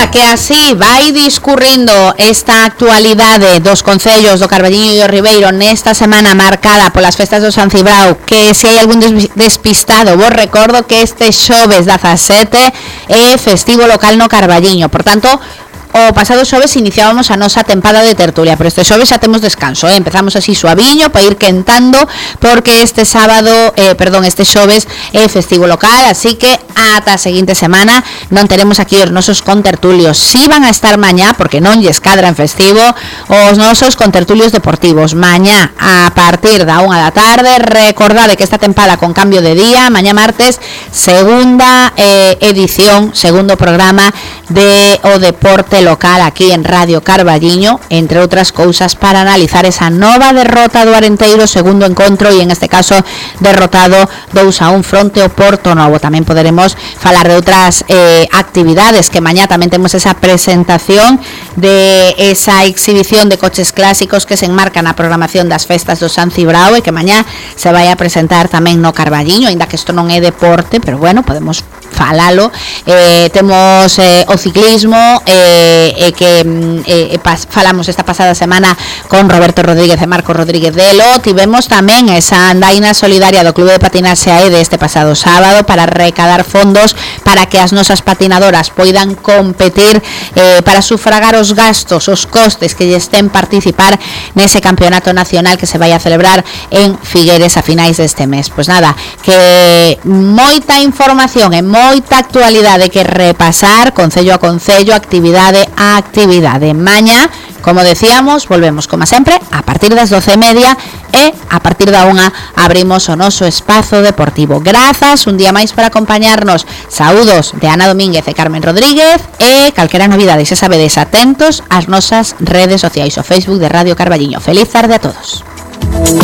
Ora, que así vai discurrindo esta actualidade dos concellos do Carballiño e do Ribeiro nesta semana marcada polas festas do San Cibrao, que se hai algún despistado, vos recordo que este xoves 17 é festivo local no Carballiño. Por tanto, o pasado xoves iniciábamos a nosa tempada de tertulia, pero este xoves xa temos descanso, empezamos así suaviño para ir quentando, porque este xoves é festivo local, así que ata a seguinte semana non teremos aquí os nosos contertulios. Si van a estar mañá, porque non lles cadra en festivo, os nosos contertulios deportivos mañá a partir da 1 da tarde. Recordade que esta tempada con cambio de día, mañá martes, segunda edición, segundo programa de o deporte local aquí en Radio Carballiño, entre outras cousas, para analizar esa nova derrota do Arenteiro, segundo encontro, e en este caso derrotado 2-1 fronte ao Portonovo. Tamén poderemos falar de outras actividades, que mañá tamén temos esa presentación de esa exhibición de coches clásicos que se enmarca na programación das festas do San Cibrao, e que mañá se vai a presentar tamén no Carballiño, aínda que isto non é deporte, pero bueno, podemos falalo. Temos o ciclismo, falamos esta pasada semana con Roberto Rodríguez e Marco Rodríguez Delo. Tivemos tamén esa andaina solidaria do Clube de Patinaxe AEDE este pasado sábado para recadar fondos para que as nosas patinadoras poidan competir, para sufragar os gastos, os costes que lles ten participar nese campeonato nacional que se vai a celebrar en Figueres a finais deste mes. Pois nada, que moita información e moita actualidade que repasar, concello a concello, actividade a actividade. Mañá, como decíamos, volvemos como sempre a partir das 12:30 e a partir da 1 abrimos o noso espazo deportivo. Grazas un día máis por acompañarnos. Saúdos de Ana Domínguez e Carmen Rodríguez, e calquera novidade, xa sabedes, atentos ás nosas redes sociais, o Facebook de Radio Carballiño. Feliz tarde a todos.